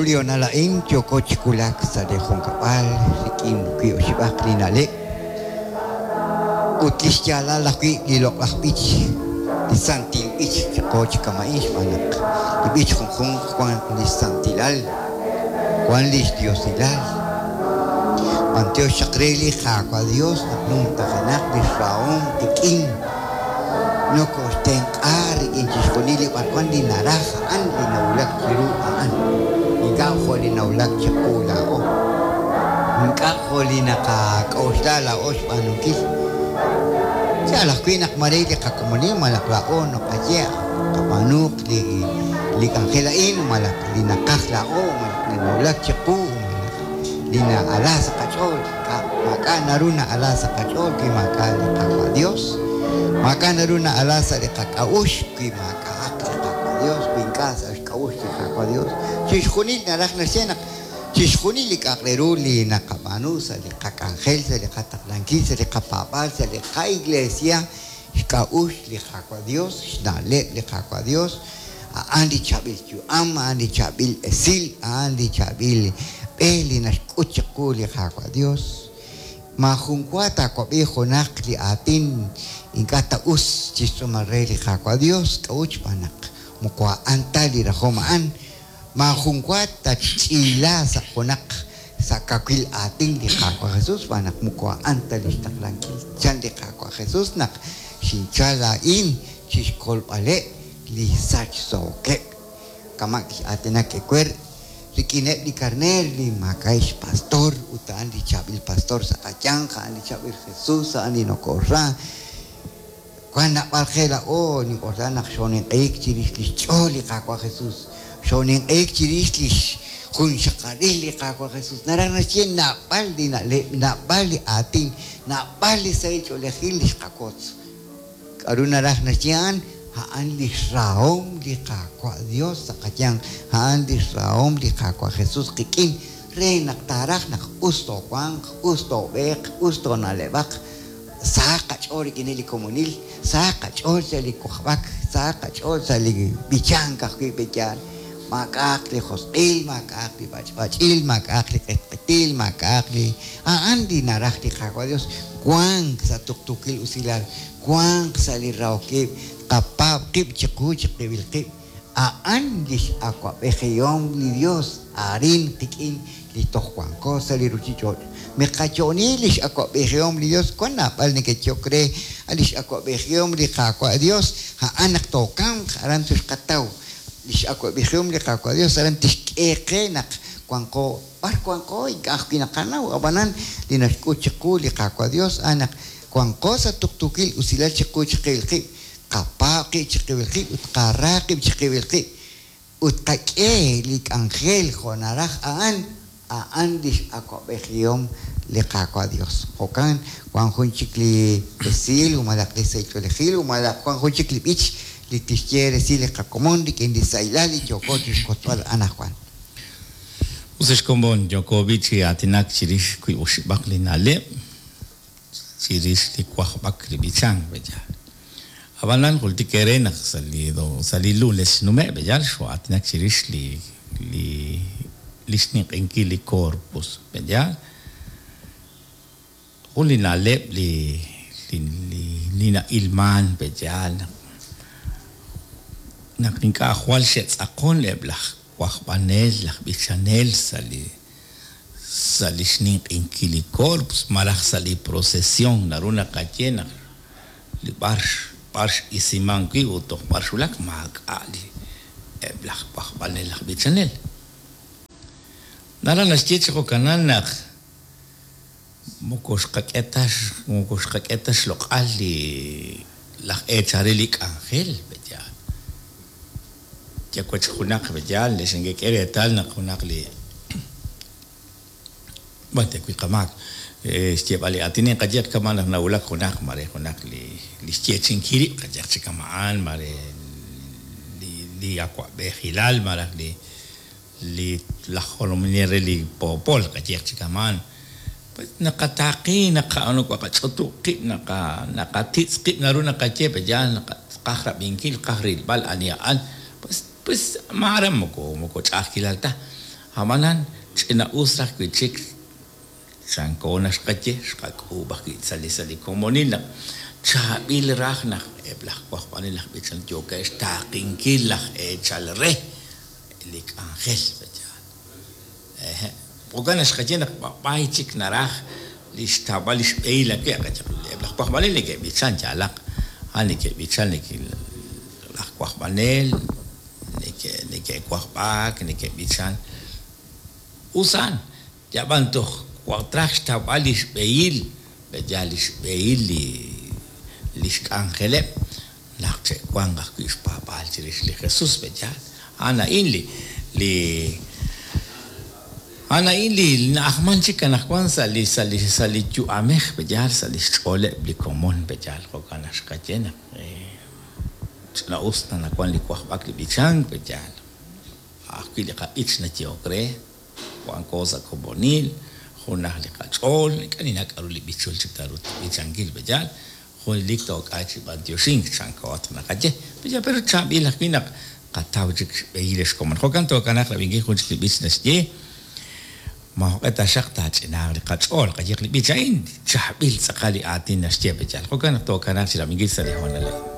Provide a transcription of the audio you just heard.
Chiru li hoonal a'in yooko chi wulak sa' li junkab'al rik'in wiib' oxib'aq li na'leb' ut lix yaalal ajwi' li loq'laj b'ich, li santil b'ich chiqo chi kama'in xb'aan naq li b'ich junjunq wan lix santilal, wan lix diosilal. B'antiox chaq re li Qaawa' Dios naq numtajenaq lix rahom qik'in. Nokoxtenq'a rik'in chixjunil li b'arwan li naraj a'an li nawulak chiru a'an, ink'a' jo' li nawulak chiqu laa'o, ink'a' jo' li naqak'oxla laa'o xb'aanunkil. Yaal ajwi' naq maare li qakomonil malaj laa'o naqaye qab'aanuuq li li k'anjel a'in malaj li naqaj laa'o malaj li nawulak chiqu malaj li na'ala sa' qach'ool. Maak'a' naru na'ala sa' qach'ool wi maak'a' li Qaawa' Dios. Maak'a' naru na'ala sa' li qak'a'uxl wi maak'a'aq li Qaawa' Dios, wi ink'a' sa' xk'a'uxl li Qaawa' Dios. Chixjunil naraj naxye naq chixjunil li k'a'aq re ru li naqab'aanu sa' li qak'anjel, sa' li qataqlankil, sa' li qapaab'aal, sa' li qa'iglesia, xk'a'uxl li Qaawa' Dios, xna'leb' li Qaawa' Dios, a'an li chaab'il yu'am, a'an li chaab'il esil, a'an li chaab'il b'e li naxk'ut chiqu li Qaawa' Dios. Maajun wa taawab'i junaq li aatin ink'a' ta us chixtz'uumal re li Qaawa' Dios, k'a'ut xb'aan naq moko a'an ta li rajom a'an. Maajun wa tatxch'iila sa' junaq sa' kawil aatin li Qaawa' Jesus, xb'aan naq moko a'an ta lix taqlankil. Chan li Qaawa' Jesus naq xinchal laa'in chixkolb'aleb' li sachsookeb', kama' kix'aatinak ewer rik'ineb' li karneer li maak'a'eb' xpastor, ut a'an li chaab'il pastor sa' qayanq, a'an li chaab'il Jesus, a'an li nokoxra. Wank naab'al qe laa'o nink'oxla naq xooninq'ehik chirix lix ch'ool li Qaawa' Jesus, xooninq'ehik chirix lix junxaqalil li Qaawa' Jesus. Naraj naxye naab'al li na'leb', naab'al li aatin, naab'al li sahil ch'oolejil li xqawotz. K'a'ru naraj naxye a'an? A'an lix rahom li Qaawa' Dios sa' qayanq, a'an lix rahom li Qaawa' Jesus qik'in re naq taaraj naq us toowanq, us toob'eeq, us toona'leb'aq. Sahaq qach'ool rik'ineb' li komonil, sahaq qach'ool sa' li wajb'ak, sahaq qach'ool sa' li b'ichank ajwi' pe' yaal. Maak'a'aq li josq'il, maak'a'aq li b'ach'b'ach'il, maak'a'aq li q'etq'etil, maak'a'aq li. A'an li naraj li Qaawa' Dios, wank sa' tuqtuukil usilal, wank sa' li rahok ib', tqapaab' qib' chiqu chiqib'il qib'. A'an li x'awab'ejihom li Yos arin qik'in li toj wanko sa' li ruuchich'och'. Miqayo'oni li x'awab'ejihom li Yos, wank naab'al neke'yehok re, A' li x'awab'ejihom li Qaawa' Yos, a'an naq tookamq, aran toxqataw. Li x'awab'ejihom li Qaawa' Yos aran tixk'e qe naq wanqo b'ar wanqo, ink'a' ajwi' naqanaw. Ab'anan, li naxk'ut chiqu li Qaawa' Yos a'an naq wanqo sa' tuqtuukil usilal chiqu chiqib'il qib'. Qapaab' qib' chiqib'il qib' ut qara qib' chiqib'il qib' ut qak'e li k'anjel jo' naraj a'an, a'an lix awa'b'ejihom li Qaawa' Dios. Jo'kan, wan jun chik li esil malaj li sahil ch'oolejil malaj wan jun chik li b'ich li tixye resil li qakomon rik'in li sahilal li yooko chixwotzb'al anajwan. Us ex komon, yooko b'i' chi aatinak chirix wiib' oxib'aq li na'leb'. Chirix li wajb'ak li b'ichank, b'eyaal. Ab'anan jultik eere naq sa' li sa' li lunes xnume' b'eyaal xoo'aatinak chirix li li li xninq'ehinkil li Corpus, b'eyaal. Jun li na'leb' li li li li na'ilman b'eyaal naq naq ink'a' jwal xe'tz'aqon eb' laj wajb'anel, laj b'ichanel sa' li sa' li xninq'inkil li Corpus malaj sa' li procesión naru naqaye naq li b'ar b'ar x'isiman wi' ut toj b'ar xwulak maak'a' li eb' laj wajb'anel laj b'ichanel. Naraj naxye chi jo'kanan naq moko xqak'e ta moko xqak'e ta xloq'al li laj eechal re li k'anjel, pe'yaal. Yawech junaq yaal li xinkek'e reetal naq junaq li B'ar ta wi' qamaak xyeeb'al li aatin inqaye kama' naq nawulak junaq mare junaq li li xyeechi'inkil rib' qayehaq chi kama'an mare li li awa'b'ejilal malaj li li laj jolominel re li poopol qayehaq chi kama'an pues naqataaqi naqa naqach'utub' qib' naqa naqatitz' qib' naru naqaye pe yaal naq tqaj rab'inkil tqaj rilb'al ani a'an pues pues maare moko moko ch'a'ajkilal ta. Ab'anan ch'ina'us raj wi' chik chanko naxqaye xqak'uub' ajwi' sa' li sa' li komonil naq chaab'il raj naq eb' laj wajb'anel laj b'ichanel yookeb' xtaaqinkil laj eechal re li k'anjel pe'yaal. Ehe' jo'kan naq xqaye naq b'ab'ay chik naraj li xtawb'al li xb'ehil awe' eb' laj wajb'anel neke'b'ichan yaalaq a'an neke'b'ichan laj wajb'anel neke'wajb'ak neke'b'ichan us a'an yab'an toj traj xtawb'al li xb'ehil pe'yaal li xb'ehil li li xk'anjeleb' naq che'wanq ajwi' xpaab'aal chirix li Jesús pe'yaal a'an a'in li li a'an a'in li na'ajman chik anaqwan sa' li sa' li sa' li yu'amej pe'yaal sa' li xch'ooleb' li komon pe'yaal jo'kan naq xqaye naq ch'ina'us naq li wajb'ak li b'ichank pe'yaal ajwi' li qab'ich nayehok re wanko sa' komonil junaj li qach'ool ink'a' ninnaw k'a'ru li b'ichul chik taaruuq b'ichankil pe'yaal junelik took'ay chi b'antioxink chanko naqaye pe'yaal pero chaab'il ajwi' naq qataw chik xb'ehil xkomon jo'kan tookanaaq rab'inkil jun chik li b'ich naxye maajoq'e taxaq taach'inaaq li qach'ool qayehaq li b'ich a'in chaab'il tz'aqal li aatin naxye pe'yaal jo'kan naq tookanaaq chi rab'inkil sa' li hoonal a'in.